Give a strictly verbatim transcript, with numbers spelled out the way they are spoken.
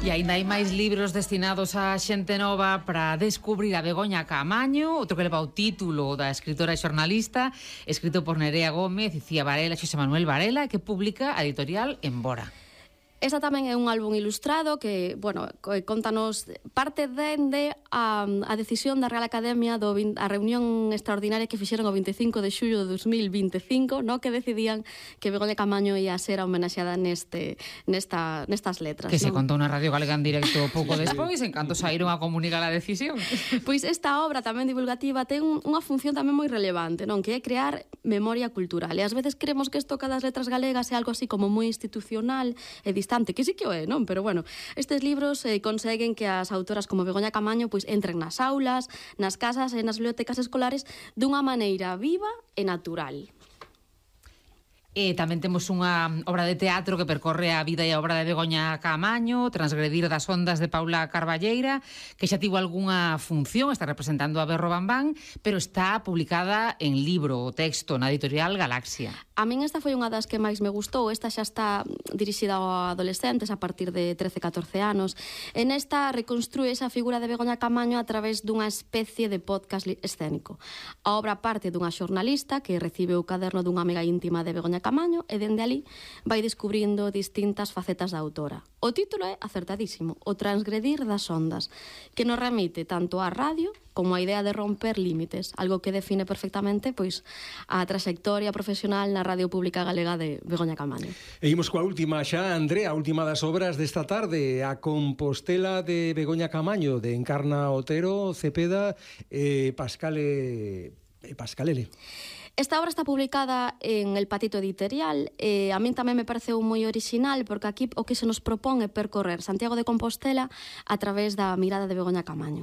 E aínda hai máis libros destinados a xente nova para descubrir a Begoña Caamaño, outro que leva o título da escritora e xornalista, escrito por Nerea Gómez, Icía Varela e Xosé Manuel Varela, que publica a editorial Embora. Esta tamén é un álbum ilustrado que, bueno, contanos parte dende a, a decisión da Real Academia do a reunión extraordinaria que fixeron o vinte e cinco de xullo de dos mil vinte e cinco, no que decidían que Begoña Caamaño ia ser homenaxeada neste nesta nestas letras, que non? se contou na Radio Galega en directo pouco despois, en canto saíron a comunicar a decisión. Pois esta obra tamén divulgativa ten unha función tamén moi relevante, non? Que é crear memoria cultural. E ás veces creemos que isto cada das letras galegas é algo así como moi institucional e distante, que sí que o é, non? Pero bueno, estes libros eh, conseguen que as autoras como Begoña Caamaño pois entren nas aulas, nas casas e nas bibliotecas escolares dunha maneira viva e natural. E tamén temos unha obra de teatro que percorre a vida e a obra de Begoña Caamaño, Transgredir das ondas de Paula Carballeira, que xa tivo algunha función, está representando a Berro Bambán, pero está publicada en libro, o texto, na editorial Galaxia. A min esta foi unha das que máis me gustou. Esta xa está dirixida a adolescentes a partir de trece a catorce anos. En esta reconstrúe esa figura de Begoña Caamaño a través dunha especie de podcast escénico. A obra parte dunha xornalista que recibe o caderno dunha amiga íntima de Begoña Caamaño e dende ali vai descubrindo distintas facetas da autora. O título é acertadísimo, O transgredir das ondas, que nos remite tanto á radio como a idea de romper límites, algo que define perfectamente pois a trayectoria profesional na Radio Pública Galega de Begoña Caamaño. E imos coa última xa, Andrea, a última das obras desta tarde, a Compostela de Begoña Caamaño, de Encarna Otero, Cepeda e Pascale e Pascalele. Esta obra está publicada en El Patito Editorial e a min tamén me pareceu moi original porque aquí o que se nos propón é percorrer Santiago de Compostela a través da mirada de Begoña Caamaño.